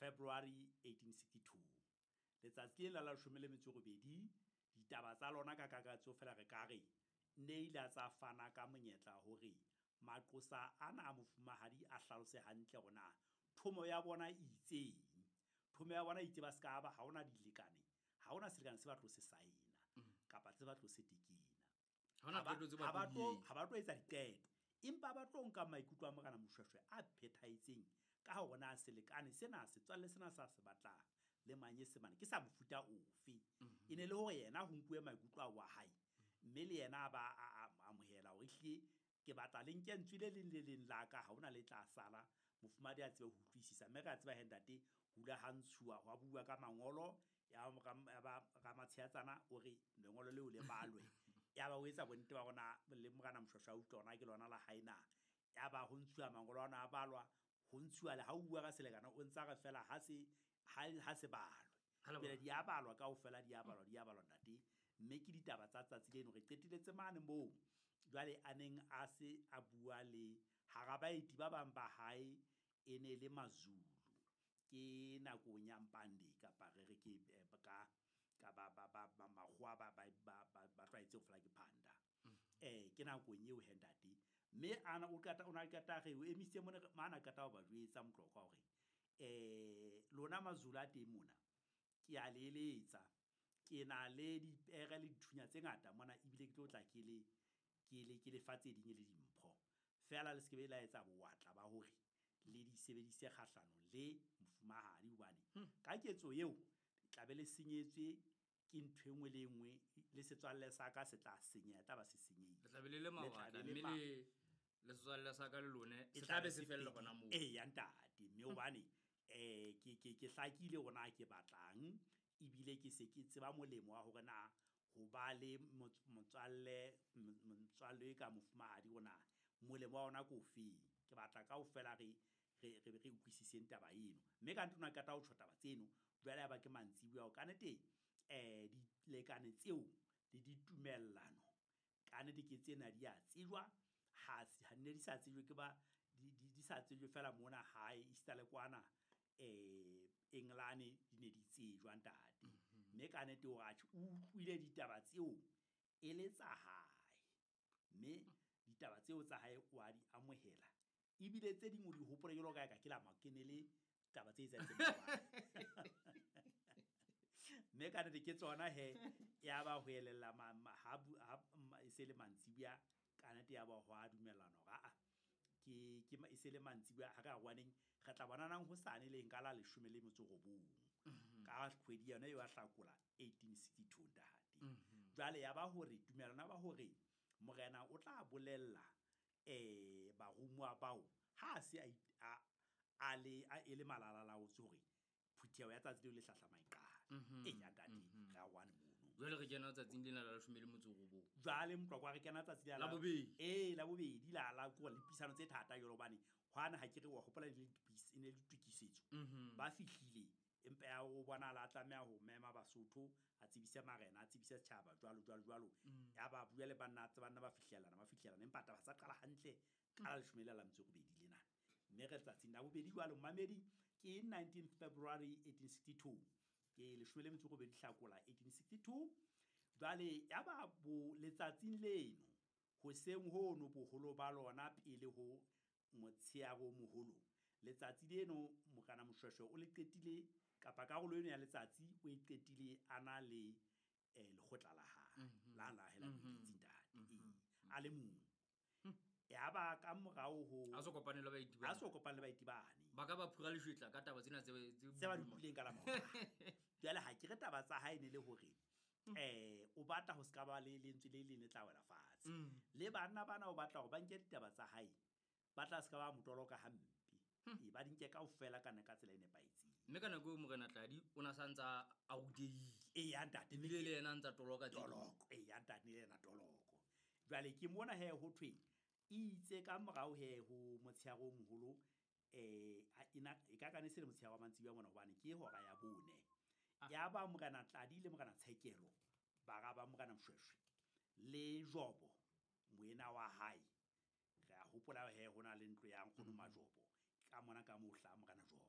February 1862. Letsatsi lena la 18, ditaba tsa lona ka kakaretso fela re ka re ne ile tsa fana ka monyetla hore maqosa ana a mofumahadi a hlalose hantle hore na thomo ya bona e itseng. Thomo ya bona e itse ba ska ba ha hona dilekane, ha hona selekane se ba tlo se saena kapa se ba tlo se tekena. Ha hona qeto tse ba Ha ba tlo tlo di etsa. Ha ba tlo etsa diqeto, empa ba tlo nka maikutlo a Morena Moshweshwe a phethahetseng ka hore na selekane sena, setswalle sena sa se batlang le Manyesemane ke sa mofuta ofe. E ne le hore yena ho nkuwe maikutlo ao a hae, mme le yena a ba a amohela hore ehlile ke batla le nke ntswe le leng le leng la ka, ha hona le tla sala, mofumahadi a tsebe ho utlwisisa. Mme re a tseba he ntate, ho ile ha ntshuwa, hwa bua ka mangolo, ya ba Ramatsheatsana o re lengolo leo le balwe. Ya ba o etsa bonnete ba hore na le Morena Moshweshwe a utlwa hore na ke lona la hae na. Ya ba ho ntshuwa mangolo ana a balwa, ho ntshuwa le ha o bua ka selekane o ntsa re fela ha se ha se balwe. Ha le Pele balwe. di a balwa kaofela, di a balwa, di a balwa ntate. Mme ke ditaba tsa tsatsi leno re qeteletse mane moo jwale a neng a se a bua le hara baeti ba bang ba hae e ne le Mazulu. Ke nakong ya Mpande kapa re re ke ka ka ba ba ba ba makgowa ba ba ba ba ba tlwaetse ho fela ke phanda. Ke nakong eo he ntate. Mme ana o qeta, o na qeta re o emisitse mona, mana qeta ho ba jwetsa Motlokwa hore lona Mazulu a teng mona, ke a le eletsa, ke na le dipere le dithunya tse ngata mona, ebile ke tlo tla ke le ke le ke le fa tse ding e le dimpho. Feela le se ke be la etsa bowatla ba hore le di sebedise kgahlanong le mofumahadi, hobane ka ketso eo tla be le senyetswe ke ntho e nngwe le e nngwe, le setswalle sa ka se tla senyeha, tla ba se senyehile. Le tla be le le Le tla mawatla, be le mme ma- le setswalle sa ka le lone E se tla tla be be se se fella fedile. hona moo. Eya ntate, mme hobane ke hlakile hore na ke batlang, ebile ke se ke tseba molemo wa hore na ho ba le motswalle, motswalle e ka mofumahadi hore na molemo wa ona ke ofeng. Ke batla kaofela re re re re utlwisiseng taba eno. Mme ka nnete o na qeta ho tjho taba tseno, jwale ya ba ke mantsibuya hore kannete dilekane tseo le ditumellano kannete ke tsena di a tsejwa, ha ha ne di sa tsejwe ke ba di sa tsejwe fela mona hae, esita le kwana Engelane di ne di tsejwa ntate. Mme kannete hore atjhe o utlwile ditaba tseo e le tsa hae, mme ditaba tseo tsa hae o a di amohela, ebile tse ding o di hopola jwalo ka ha eka ke la ke ne le taba tse etsahetseng maobane. Mme kannete ke tsona he, ya ba ho elella ha ha e se le mantsibuya, kannete ya ba ho a dumellana hore aa ke ke e se le mantsibuya ha re arohaneng, re tla bonanang hosane leng ka la 19 ka kgwedi yona eo ya Hlakola 1862 ntate. Jwale ya ba hore tumellano ya ba hore morena o tla bolella barumuwa bao ha a se a a a le a e le malalalaotswe hore phutheho ya tsatsi leo le hlahlamang e qale. Eya ntate, re arohane mono. Jwale re kena tsatsing lena la 18. Jwale Motlokwa re kena tsatsi la La bobedi. Ee, la bobedi la la ko le puisano tse thata jwalo hobane hwana ha ke re wa hopola e ne e ne le ditokisetso. Ba fihlile empa ya o bonahala a tlameha ho mema Basotho, a tsebise marena, a tsebise setjhaba jwalo jwalo jwalo. Ya ba bua le banna, banna ba fihlellana, ba fihlellana, empa taba tsa qala hantle ka la 18 lena. Mme re tsatsing la bobedi jwalo mamedi ke 19 February 1862. Ke 18 Hlakola 1862. Jwale ya ba bo letsatsing leno hoseng hono boholo ba lona pele ho motsheare o moholo. Letsatsi leno Morena Moshweshwe o le qetile kapa karolo eno ya letsatsi o e qetile a na le lekgotla la hae, la la hae la moeletsi ntate. Ee, a le mong. Ya ba ka morao ho A so kopane le baeti bane. A so kopane le baeti bane. Ba ka ba phura leshwetla ka taba tsena tse tse ba di utlwileng ka la maobane. Jwale ha ke re taba tsa hae ne le hore o batla ho ska ba le lentswe le leng le tla wela fatshe. Le banna bana o batla hore ba nke ditaba tsa hae, ba tla ska ba motoloka hampe. E ba di nke kaofela kana ka tsela e nepahetseng. Mme ka nako eo Morena Tladi o na sa ntsa a rutehile. Eya ntate, Ebile le yena a ntsa toloka tse ding. Toloko. Eya ntate, le yena toloko. Jwale ke mona he ho thwe itse ka morao he ho motsheare o moholo, ena e ka ka ne se le motsheare wa mantsibuya mona hobane ke hora ya 4. Ya ba Morena Tladi le Morena Tshekelo, bara ba Morena Moshweshwe le Jobo moena wa hae. Re a hopola he ho na le ntlo ya nkgono Majobo ka mona ka moo hlaha Morena Jobo.